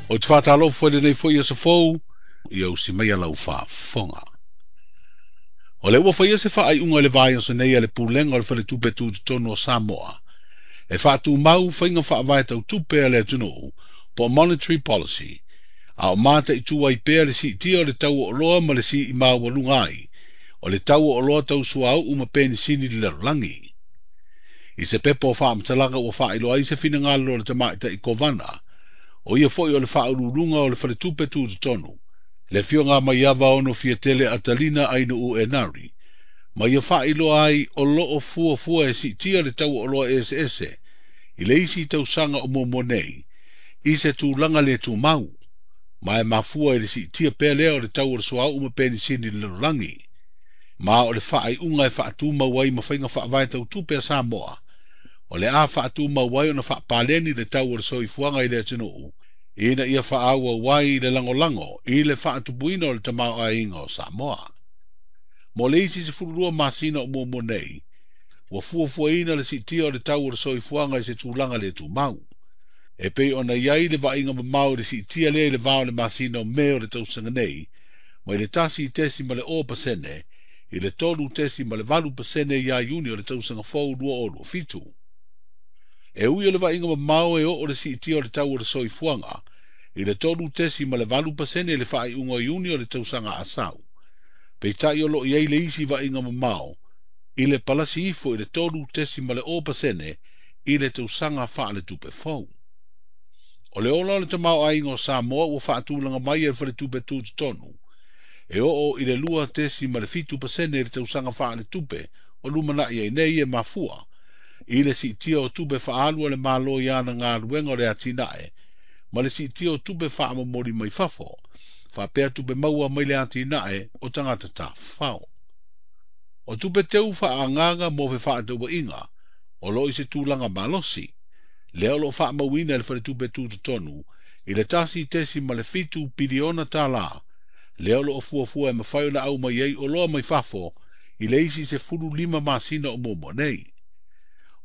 Ou te faatalofa i lenei foi aso fou, ia usi mai lau faafofoga. O lea ua faia se faaiuga i le vaiaso nei a le Pulega o le Faletupe Tutotonu o Samoa e faatumau faiga faavae tau tupe a le atunuu po o monetary policy, a o mataitu ai pea le siitia o le tau o oloa ma le sii maualuga ai o le tau o oloa tau suauu ma penisini i le lalolagi. I se pepa o faamatalaga ua faailoa ai se finagalo o le tamaitai Kovana, o ia foi o le faauluuluga o le Faletupe Tutotonu, le afioga Maiava Ono Fiatele Atalina Ainuu Enari, ma ia faailoa ai o loo fuafua e siitia le tau o oloa eseese i le isi tausaga o muamua nei, i se tulaga le tumau, ma e mafua i le siitia pea lea o le tau o le suauu ma penisini i le lalolagi. Ma o le faaiuga e faatumau ai ma faiga faavae tau tupe a Samoa, o le a faatumau ai ona faapaleni le tau o le soifuaga i le atunuu, ina ia faaauau ai i le lagolago i le faatupuina o le tamaoaiga o Samoa. Mo le isi 12 masina o muamua nei, ua fuafuaina le siitia o le tau o le soifuaga i se tulaga le tumau. E pei ona i ai le vaaiga mamao i le siitia lea i le va o le masina o Me o le tausaga nei, mai le 1.0% i le 3.8% ia Iuni o le tausaga fou 2027. E ui o le vaaiga mamao e oo le siitia o le tau o le soifuaga i le 3.8% i le faaiuga o Iuni o le tausaga a sau. Peitai o loo i ai le isi vaaiga mamao i le palasi ifo i le 3.0% i le tausaga faaletupe fou. O le ola o le tamaoaiga o Samoa ua faatulaga mai e le Faletupe Tutotonu e oo i le 2.7% i le tausaga faaletupe o lumanai ai nei e mafua i le siitia o tupe faaalu a le Malo i ana galuega o le atinae ma le siitia o tupe faamomoli mai fafo, faapea tupe maua mai le atinae o tagata tafafao. O tupe teu faaagaaga mo fefaatauaiga o loo i se tulaga malosi, lea o loo faamauina e le Faletupe Tutotonu i le $1.7 piliona tala, lea o loo fuafua e mafai ona aumai ai oloa mai fafo i le isi 15 masina o muamua nei.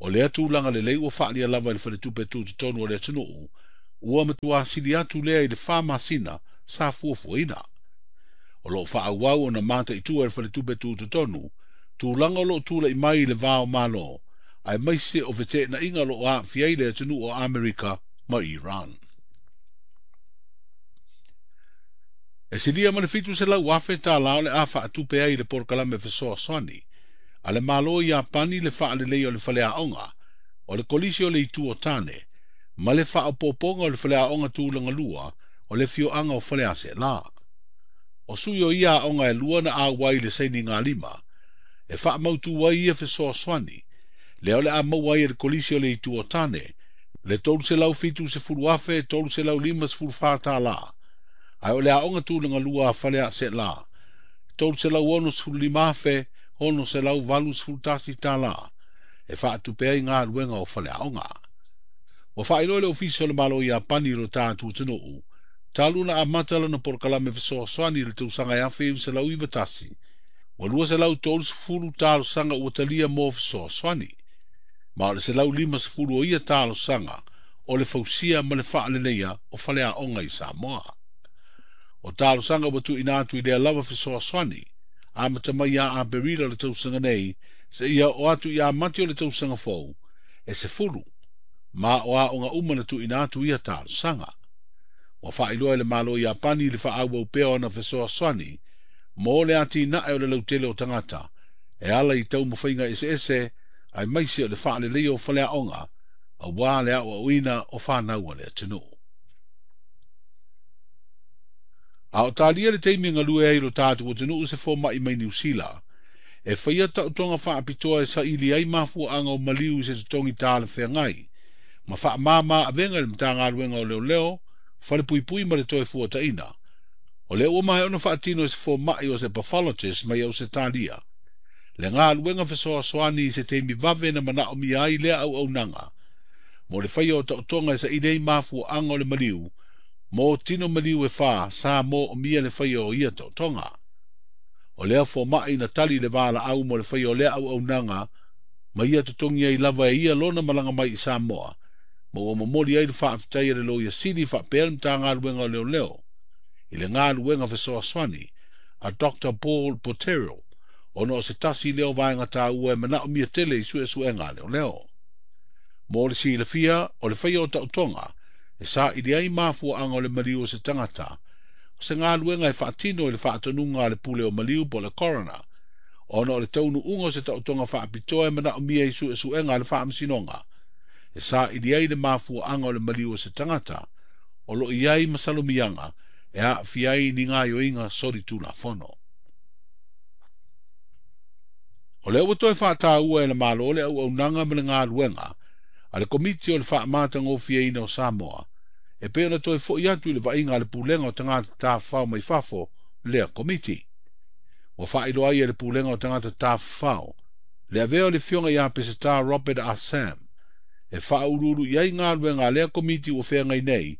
O lea tulaga lelei ua faalia lava i le Faletupe Tutotonu o le atunuu, ua matua sili atu lea i le 4 masina sa fuafuaina. O loo faaauau ona mataitu e le Faletupe Tutotonu tulaga o loo tulai mai i le va o Malo, aemaise o feteenaiga o loo aafia ai le atunuu o Amerika ma Iran. E silia ma le 700,000 tala o le a faatupe ai le polokalame fesoasoani a le Malo i Iapani le faalelei o le faleaoga o le Kolisi o le Itu o Tane ma le faaopoopoga o le faleaoga tulaga lua o le afioaga o Faleaseela. O sui o ia aoga e lua na auai i le sainiga lima e faamautu ai ia fesoasoani lea o le a maua ai e le Kolisi o le Itu o Tane le 370,354 tala, ae o le aoga tulaga lua a Faleaseela 365,681 tala e faatupe ai galuega o faleaoga. Ua faailoa le Ofisa o le Malo o Iapani i lo tatou atunuu talu na amata lana polokalame fesoasoani i le tausaga 1991, ua 230 talosaga ua talia mo fesoasoani, ma o le 150 o ia talosaga o le fausia ma le faaleleia o faleaoga i Samoa. O talosaga ua tuuina atu i lea lava fesoasoani amata mai ia Aperila o le tausaga nei seia oo atu ia Mati o le tausaga fou e 10, ma o aoga uma na tuuina atu ia talosaga. Ua faailoa e le Malo o Iapani le faaauau pea o ana fesoasoani mo le atinae o le lautele o tagata e ala i taumafaiga eseese aemaise o le faaleleia o faleaoga aua le aoaoina o fanau a le atunuu. A o talia le taimi galue ai lo tatou atunuu se fomai mai Niu Sila, e faia taotoga faapitoa e saili ai mafuaaga o maliu i se totogi talafeagai, ma faamama avega i le Matagaluega o Leoleo, Falepuipui ma le toe fuataina. O lea ua maea ona faatino e se fomai o se pathologist mai Ausetalia, le galuega fesoasoani i se taimi vave na manaomia ai lea auaunaga, mo le faia o taotoga e saili ai mafuaaga o le maliu, mo tino maliu e 4 sa moomia le faia o ia taotoga. O lea fomai na tali le valaau mo le faia o lea auaunaga, ma ia totogi ai lava e ia lona malaga mai i Samoa, Ma ua momoli ai le faafetai a le Loia Sili faapea le Matagaluega o Leoleo i le galuega fesoasoani a Dr. Paul Botterill ona o se tasi lea o vaega taua e manaomia tele i suesuega a leoleo. Mo le silafia, o le faia o taotoga e saili ai mafuaaga o le maliu o se tagata, o se galuega e faatino i le faatonuga a le pule o maliu po o le coroner, ona o le taunuuga o se taotoga faapitoa e manaomia i suesuega a le faamasinoga, e saili ai le mafuaaga o le maliu o se tagata, o lo o i ai masalomiaga e aafia ai ni gaoioiga solitulafono. O lea ua toe faataua e le Malo le auaunaga ma le galuega a le Komiti o le Faamatagofieina o Samoa, e pei ona toe foi atu i le vaaiga a le Pulega o Tagata Tafafao mai Fafo lea Komiti. Ua faailoa ai e le Pulega o Tagata Tafafao le avea o le Afioga ia Peseta Robert Ah Sam e faauluulu i ai galuega a lea Komiti ua feagai nei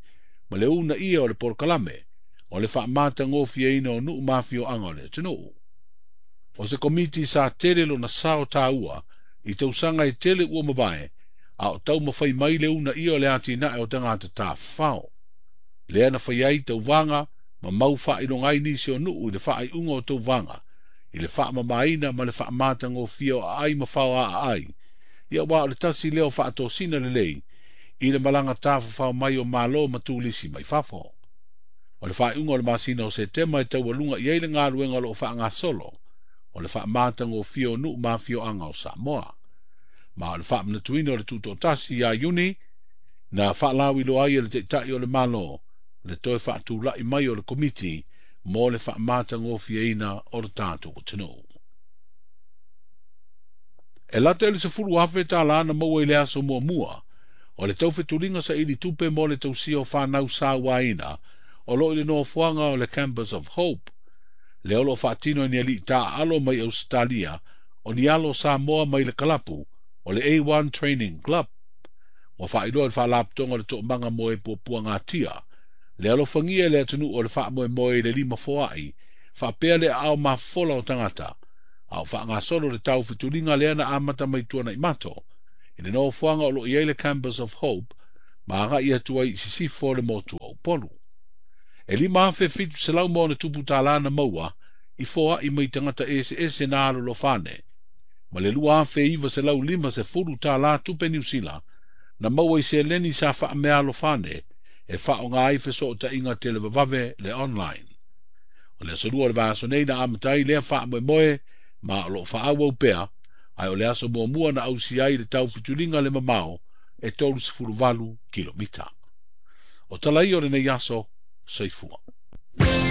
ma le uunaia o le polokalame o le faamatagofieina o nuu ma afioaga o le atunuu. O se Komiti sa tele lona sao taua i tausaga e tele ua mavae, a o taumafai mai le uunaia o le atinae o tagata tafafao. Lea na fai ai tauvaga ma mau faailoga ai nisi o nuu i le faaiuga o tauvaga, i le faamamaina ma le faamatagofie o aai ma faoaaai, ia aua o le tasi lea o faatosina lelei i le malaga tafafao mai o Malo ma turisi mai fafo. O le faaiuga o le masina o Setema e taualuga i ai le galuega o lo o faagasolo, o le faamatagofie o nuu ma afioaga o Samoa. Ma o le faamanatuina o le tutoatasi ia Iuni, na faalauiloa ai e le Taitai o le Malo le toe faatulai mai o le Komiti mo le faamatagofieina o le tatou atunuu. E lata i le $10,000 na maua i le aso muamua o le taufetuliga saili tupe mo le tausia o fanau sauaina o lo o i le nofoaga o le Campus of Hope, lea o lo o faatino e ni alii taaalo mai Ausetalia o ni alo o Samoa mai le kalapu o le A1 Training Club. Ua faailoa i le faalapotopotoga o le Toomaga mo e Puapuagatia, le alofagia e le atunuu o le faamoemoe i le lima foai, faapea le aao mafofola o tagata, a o faagasolo le taufetuliga lea na amata mai tuanai mato, i le nofoaga o lo o i ai le Campus of Hope, ma agai atu ai i sisifo o le motu o Upolu. E $5,700 ma ona tupu tālā na maua i foai mai tagata eseese na alolofane, ma le $2,950 tupe Niu Sila na maua i seleni sa faameaalofane e faaaoga ai fesootaiga televavave le online. O le aso lua o le vaiaso nei na amata ai lea faamoemoe ma o lo o faaauau pea, ae o le aso muamua na ausia ai le taufetuliga le mamao e 38 kilomita. O tala ia o lenei aso, soifua.